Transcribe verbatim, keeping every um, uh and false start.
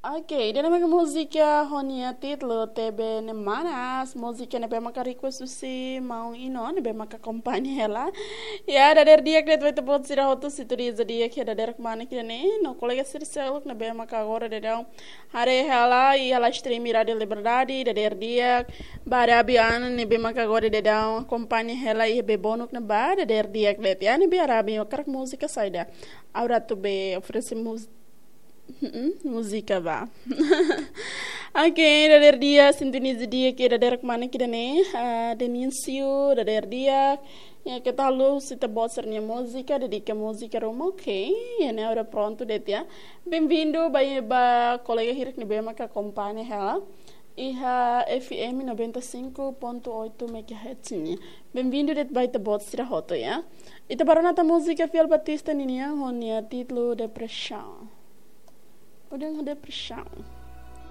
Ok, ida-ne'e maka múzika ho nia títulu Tebe Ne'e Manas, múzika ne'ebé maka request husi maun Ino, ne'ebé maka akompaña hela. Ya, dadeer di'ak de'it ba ita-boot sira hotu, sintoniza di'ak iha dadeer kmanek ida-ne'e, no kolega sira seluk ne'ebé maka agora daudaun haree hela iha live stream Rádio Liberdade, dadeer di'ak. Ba Arabi Ana ne'ebé maka agora daudaun akompaña hela iha Bebonuk ne'ebá, dadeer di'ak de'it. Ya, ne'ebé Arabi, hakarak múzika saida? Ha'u atu bele oferese múz-, Mm-mm, múzika ba. Ok, dadeer di'ak, sintoniza di'ak iha dadeer kmanek ida-ne'e, ah, Denício, dadeer di'ak. Ya, keta haluha husu ita-boot sira-nia múzika, dedika múzika ruma, ok. Ya, ne'e agora prontu de'it ya. Bem-vindo ba, ba kolega hirak ne'ebé maka akompaña hela iha F M noventa e cinco ponto oito megahertz nian. Bem-vindo de'it ba ita-boot sira hotu ya. Ita bá rona tan múzika Fiel Batista ninian ho nia títulu Depressão. Udah, Depressão.